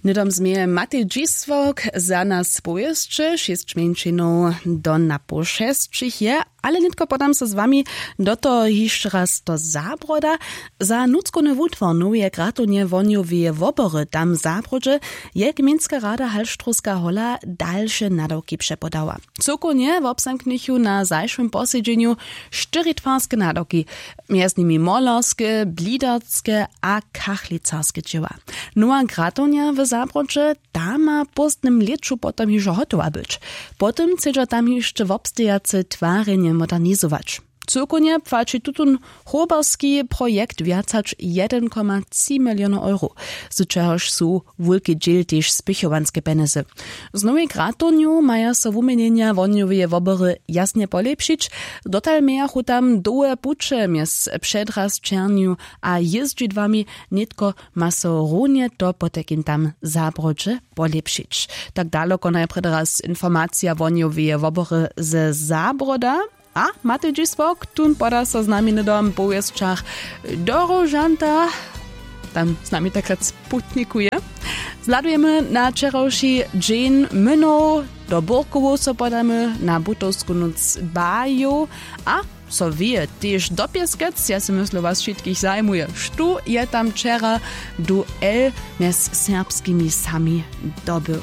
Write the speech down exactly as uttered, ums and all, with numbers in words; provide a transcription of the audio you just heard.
Hnydom změje Matej Dźisławk za nas powěsće šěsć mjeńšinow do napoł šesćich je, ale nětko podam so z wami do toho hišće raz do Zabroda. Za nutřkowny wutwar noweje gratownje wohnjoweje wobory tam w Zabrodźe je gmejnska rada Halštrowska hola dalše nadawki přepodała. Cyłkownje wobzamknychu na zašłym posedźenju štyri twarske nadawki, mjez nimi molerske, blidarske a kachlicarske dźěła. Nowa gratownja w Zabrodźe, ta ma w póstnym lěću potom hižo hotowa być. Potom chcedźa tam hišće wobstejace twarjenje modernizować. Cyłkownje płaći tutón hoberski projekt wjac hač jedyn koma tři milionow euro, z čehož su wulki dźěl tež spěchowanske pjenjezy. Z nowej gratownju maja so wuměnjenja wohnjoweje wobory jasnje polěpšić. Dotal mějachu tam dołhe puće mjez předrasćernju a jězdźidłami. Nětko ma so runje to potajkim tam w Zabrodźe polěpšić. Tak daloko najprjedy raz informacija wohnjoweje wobory ze Zabroda. A Matej Dźisławk tón poda so z nami hnydom w powěsćach do Róžanta. Tam z nami takrát putnikuje. Zhladujemy na wčerawši dźeń mynow. Do Burkowow so podamy, na butowsku nóc bajow a so wěje tež do Pěskec. Ja sej myslu, was wšitkich zajimuje, štó je tam wčera duel mjez serbskimi sami dobył.